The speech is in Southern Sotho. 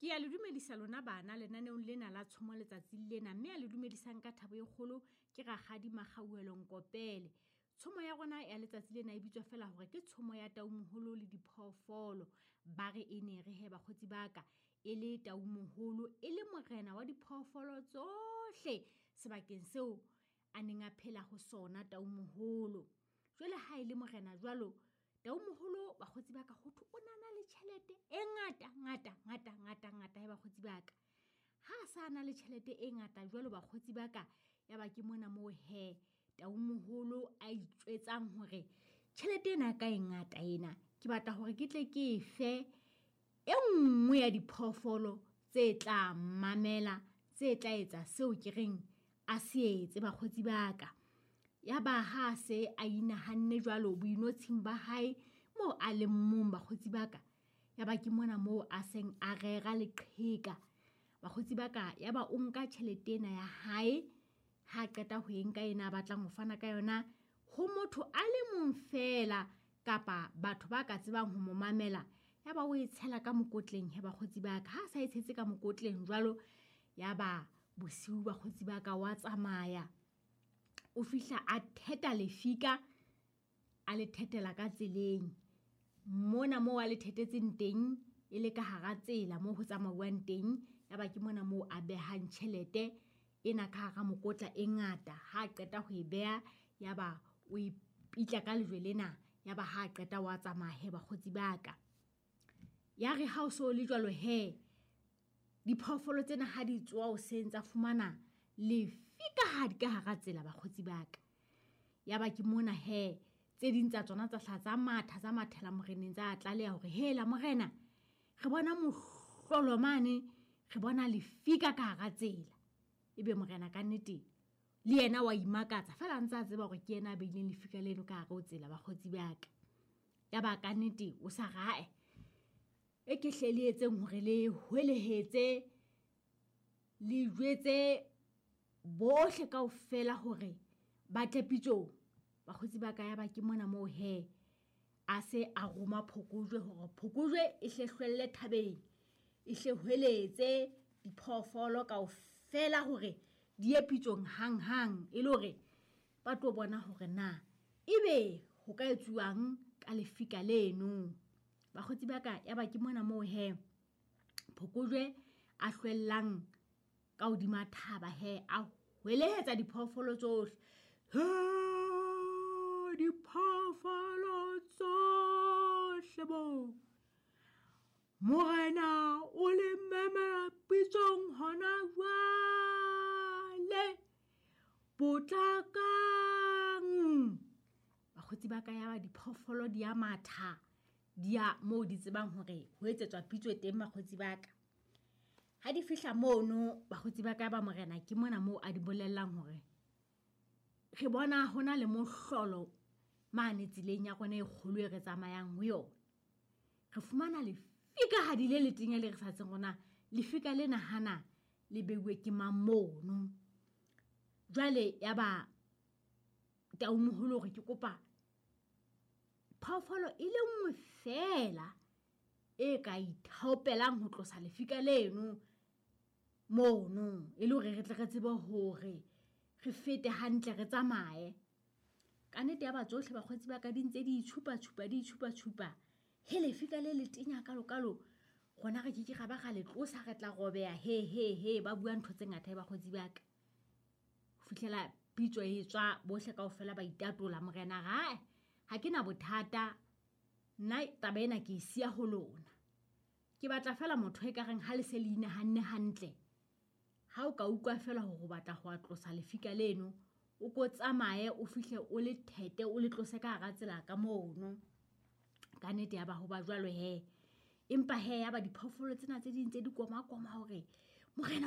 Ke a le dumedisa lona bana lenaneong lena la tshomo letsatsing lena, mme a le dumedisang ka thabo e kgolo ke Rakgadi Makgauhelo Nkopele. Tshomo ya rona ya letsatsi lena e bitswa feela hore ke tshomo ya Taumoholo le diphoofolo. Ba re e ne re he bakgotsi ba ka, e le Taumoholo e le morena wa diphoofolo tsohle sebakeng seo a neng a phela ho sona Taumoholo. Jwale ha e le morena jwalo, Taumoholo bakgotsi ba ka ho thwe o na na le tjhelete e ngata ngata ngata ngata ngata he bakgotsi ba ka. Ha a sa na le tjhelete e ngata jwalo bakgotsi ba ka, ya ba ke mona moo he Taumoholo a itjwetsang hore tjhelete ena ya ka e ngata ena, ke batla hore ke tle ke e fe e nngwe ya diphoofolo tse tla mamela, tse tla etsa seo ke reng a se etse bakgotsi ba ka. Ya ba ha se a inahanne jwalo boinotshing ba hae moo a leng mong bakgotsi ba ka, ya ba ke mona moo a seng a rera leqheka bakgotsi ba ka. Ya ba o nka tjhelete ena ya hae, ha qeta ho e nka ena a batlang ho fana ka yona ho motho a le mong feela kapa batho ba ka tsebang ho mo mamela, ya ba o e tshela ka mokotleng he bakgotsi ba ka. Ha a sa e tshetse ka mokotleng jwalo, ya ba bosiu bakgotsi ba ka wa tsamaya, o fihla a theta lefika, a le thetela ka tseleng. Mona moo a le thetetseng teng e le ka hara tsela moo ho tsamauwang teng, ya ba ke mona moo a behang tjhelete ena ka hara mokotla e ngata. Ha qeta ho e beha, ya ba o e pitla ka lejwe lena, ya ba ha qeta wa tsamaya he bakgotsi ba ka. Ya re ha o so le jwalo he, diphoofolo tsena ha di tsoha hoseng tsa fumana lefikahadi ka hara tsela bakgotsi ba ka. Ya ba ke mona he tse ding tsa tsona tsa hla tsa matha, tsa mathela moreneng, tsa tlaleha hore hela morena, re bona mohlolo mane, re bona lefika ka hara tsela. Ebe morena ka nnete le yena wa imakatsa feela a ntse a tseba hore ke yena a beileng lefika leno ka hare ho tsela bakgotsi ba ka. Ya ba ka nnete o sa rae, e ke hle le etseng hore le hwelehetse, le jwetse bohle kaofela hore ba tle pitsong. Bakgotsi ba ka, ya ba ke mona moo he a se a roma phokojwe hore phokojwe e hle hlwelle thabeng, e hle hweletse diphoofolo kaofela hore di ye pitsong hanghang, e le hore ba tlo bona hore na ebe ho ka etsuwang ka lefika leno. Bakgotsi ba ka, ya ba ke mona moo he phokojwe a hlwellang ka hodima thaba he, a hwelehetsa diphoofolo tsohle. He, diphoofolo tsohle bo, morena o le memela pitsong hona jwale, potlakang. Bakgotsi ba ka, ya ba diphoofolo di a matha, di ya moo di tsebang hore ho etsetswa pitso teng bakgotsi ba ka. Ha di fihla mono bakgotsi ba ka, ba morena ke mona moo a di bolellang hore re bona hona le mohlolo mane tseleng ya rona e kgolo e re tsamayang ho yona. Re fumana lefikahadi le letenya le re sa tsebeng rona lefika lena hana le beuwe ke mang mono. Jwale ya ba Taumoholo hore ke kopa phoofolo e le nngwe feela e ka ithaopelang ho tlosa lefika leno mono, e le hore re tle re tsebe hore re fete hantle re tsamaye. Ka nnete ya ba tsohle bakgotsi ba ka di ntse di itshupa-tshupa, di itshupa-tshupa. He, lefika le letenya kalo-kalo, rona re ke ke ra ba ra le tlosa, re tla robeha. He, he, he, ba bua ntho tse ngata he bakgotsi ba ka. Ho fihlela pitso e tswa, bohle kaofela ba itatola. Morena ra, ha ke na bothata, nna taba ena ke e siya ho lona. Ke batla feela motho e ka reng ha le se le inahanne hantle, ha o ka utlwa feela hore o batla ho tlosa lefika leno, o ko tsamaye o fihle o le thete, o le tlose ka hara tsela ka mono. Ka nnete ya ba ho ba jwalo he. Empa he ya ba diphoofolo tsena tse ding tse di koma-koma hore morena